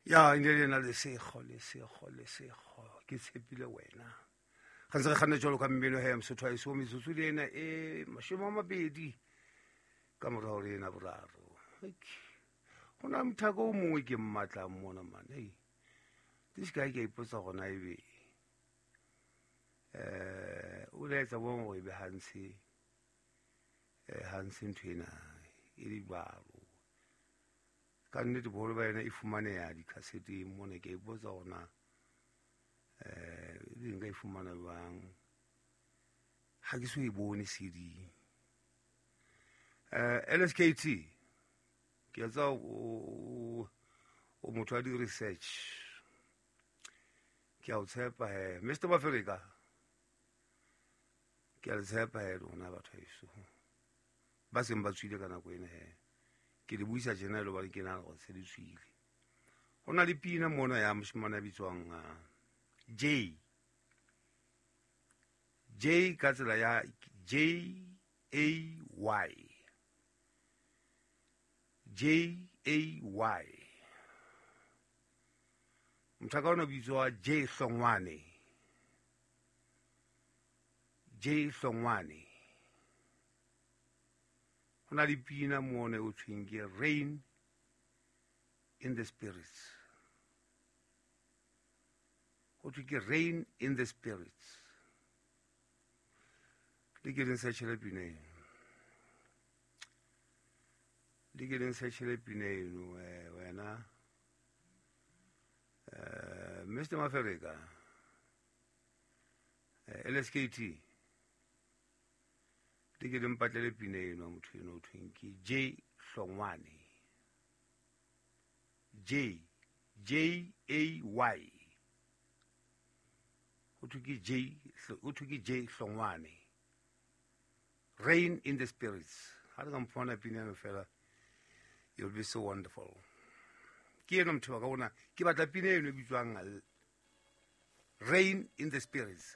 Ya e ne le ena lesego lesego lesego ke tshepile wena ga ntse re kganna jalo ka mmino he mosotho a eso metsotso le ena e 20 ka morago le ena boraro. Go na mothako o mongwe ke mmatlang mona mane. Ei this guy ke a ipotsa gona ebe o laetsa bong gore e be hantshe hantshe ntho ena e le jalo. Ka nnete boholo ba yena e fumaneha dikhaseteng mona, ke a ipotsa gona ebe nka e fumana jwang, ha ke so e bone CD. LSKT ke a tseba o motho wa di-research, ke a o tshepa he Mr Mafereka, ke a le tshepa he lona batho heso ba seng ba tswile ka nako ena he. Ke le buisa tjena e le hobane ke nahana hore se le tswile. Ho na le pina mona ya moshemane a bitswang J J ka tsela ya J A Y J A Y. Motho ka ona bitswa J Hlongwane, J Hlongwane. Ho na le pina mona o thweng ke Rain in the Spirits. Ho thwe ke Rain in the Spirits. Le ke leng searchele pina eno, le ke leng searchele pina eno wena Mr Mafereka, LSKT, le ke le mpatlele pina eno motho eno o thweng ke J Hlongwane, J J A Y. Ho thwe ke J, ho thwe ke J Hlongwane, Rain in the Spirits. Ha re ka mfumana pina eno fela, you'll be so wonderful. Ke eno motho wa ka ona, ke batla pina eno e bitswang Rain in the Spirits.